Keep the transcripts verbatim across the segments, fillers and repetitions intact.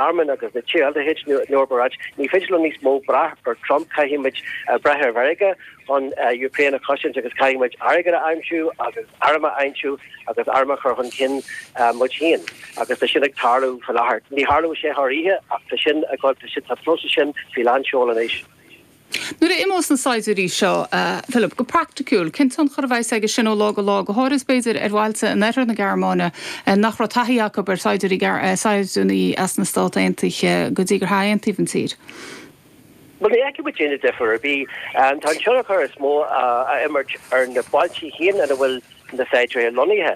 Ghearmáin agus na tíortha de chuid na hEorpa ní féidir leo níos mó brath ar Trump caithfimid uh, brath ar Mheiriceá chun uh, Ukraine a chosaint agus caithfimid airgead a aimsiú agus airm a aimsiú agus airm a chur chun cinn uh, muid féin agus tá sin ag tarlú faoi láthair. Ní tharlóidh sé thar oíche ach tá sin ag tá próiseas sin faoi lánseol anois. Nuair a imeos na saighdiúirí seo uh, Philip go praiticiúil, cén tionchar a bheas aige sin ó lá go lá go háirithe b'fhéidir ar bhailte in oirthear na Gearmáine uh, nach raibh taithí acu ar saighdiúirí uh, saighdiúirí as na Stáit Aontaithe go dtí gur aontaíodh an tír. Well ní fheicfidh muid aon difear ar bith tá an tionchar is mó a imirt ar na bailte féin ina bhfuil na saighdiúirí lonnaithe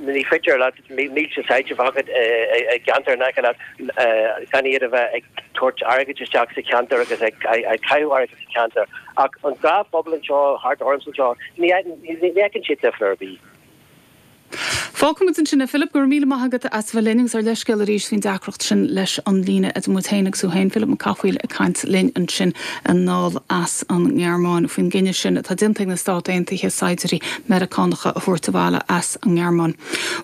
ní féidir le mílte saighdiúir agat i gceantar na gan iad a bheith ag tabhairt airgead isteach sa cheantar agus ag caitheamh airgead sa cheantar ach an gnáthphobal anseo thart orm seo ní fheiceann siad difear ar bith. Fágfaimid ansin é Philip go raibh míle maith agat as bheith linn agus ár leithscéal arís faoin deacracht sin leis an líne idir muid féin agus tú féin Philip Mac Cathmhaoil ag caint linn ansin anall as an nGearmáin faoin gcinneadh sin atá déanta ag na Stáit Aontaithe saighdiúirí Meiriceánacha a thabhairt abhaile as an nGearmáin.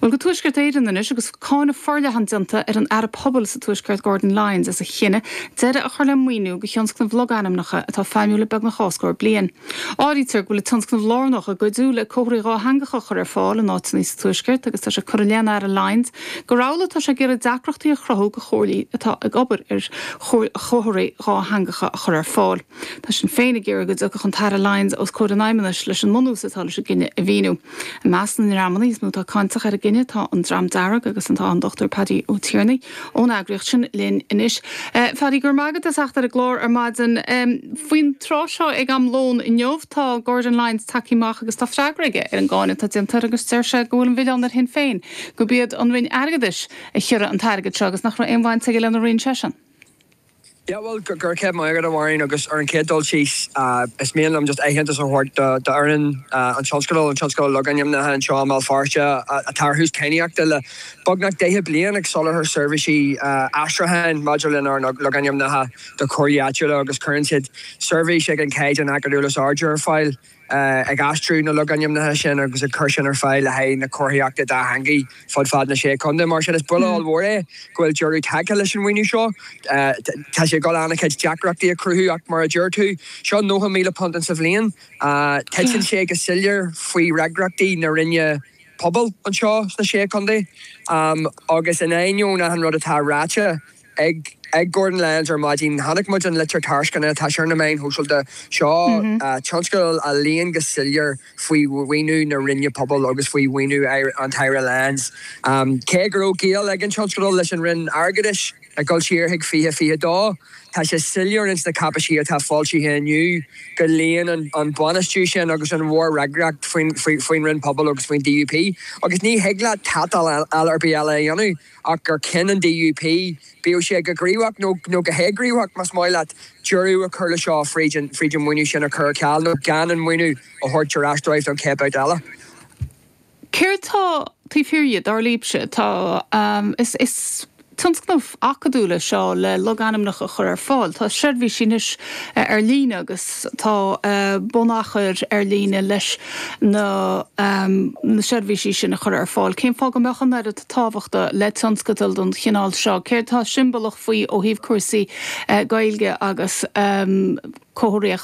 Well go Tuaisceart Éireann anois agus cáineadh forleathan déanta ar an Aire Pobail sa Tuaisceart Gordon Lyons as a chinneadh deireadh a chur le maoiniú do thionscnamh logainmneacha atá feidhmiúil le beagnach dhá scór bliain. Áirítear go bhfuil tionscnamh lárnach i gcuidiú le comharthaí dátheangacha a chur ar fáil in áiteanna sa Tuaisceart agus tá sé curtha i leith an Aire Lyons gur amhlaidh atá sé ag iarraidh deacrachtaí a chruthú do chomhairlí atá ag obair ar chomharthaí dátheangacha a chur ar fáil. Tá Sinn Féin ag iarraidh go dtiocfadh an tAire Lyons os comhair an Fheidhmeannais leis an mbunús atá leis an gcinneadh a mhíniú. I measc na ndreamanna is mó atá cáinteach ar an gcinneadh tá an Dream Dearg agus an tá an Dr Paddy Ó Tiarnaigh ón eagraíocht sin linn anois. Uh, Paddy gur magad a seach ar a glór ar maidin um, faoin tráth seo ag am lóin inniu tá Gordon Lyons tagtha amach agus tá freagra aige ar an gcáineadh atá déanta agus deir sé go bhfuil an milleán ar Shinn Féin gurb iad an Roinn Airgeadais a chiorraigh an t-airgead seo agus nach raibh aon bhaint aige lena roinn seisean. Ja well gur cé maigad amháin agus ar an chéad dul síos is mian liom just aitheantas a thabhairt d'fhoireann an tionscadal an tionscadal logainmneacha anseo i mBéal Feirste atá ar thús cadhnaíochta le beagnach deich bliain ag soláthar seirbhísí aistriúcháin maidir lenár logainmneacha do chomhairlí áitiúla agus cuireann siad seirbhís ag an gcaighdeán acadúil is airde ar fáil. ag aistriú na logainmneacha sin agus ag cur sin ar fáil le haghaidh na comharthaíochta dátheangaí fud fad na sé chontae mar sin is buille ollmhór é go bhfuil deireadh tagtha leis an mhaoiniú seo. Tá sé ag dul an-chuid deacrachtaí a chruthú ach mar a deir tú seo nócha míle punt sa bhliain. Titeann sé go soiléir faoi fhreagrachtaí na Roinne Pobail anseo sna sé chontae agus in ainneoin an rud atá ráite ag ag Gordon Lyons ar maidin chonaic muid an litir tairisceana tá sé ar na meáin shóisialta seo mm -hmm. tionscadal a luíonn go soiléir faoi mhaoiniú na Roinne Pobail agus faoi mhaoiniú an tAire Lyons. Um, cé go raibh gaol ag an tionscadal leis an Roinn Airgeadais ag dul siar chuig fiche fiche dó, Tá sé soiléir ins na cáipéisí atá foilsithe inniu go luíonn an, an bainistiú sin agus an mhórfhreagracht faoin faoin Roinn Pobail agus faoin DUP. agus ní thig le tátal ar bith eile a dhéanamh ach gur chinn an DUP bíodh sé go gníomhach nó nó go héighníomhach más maith leat deireadh a chur le seo fríd an fríd an maoiniú sin a chur ceal nó gan an maoiniú a thabhairt ar ais dóibh don chéad babhta eile. Céard tá taobh thiar dhe dar libhse tá um, is, is tionscnamh acadúil é seo le logainmneacha a chur ar fáil. Tá seirbhísí anois eh, ar líne agus tá uh, bunachar ar líne leis na, um, na seirbhísí sin a chur ar fáil. Cén fáth go mbeadh an oiread tábhachta le tionscadal den chineál seo, Céard tá siombalach faoi ó thaobh cúrsaí uh, Gaeilge agus um, comharthaíocht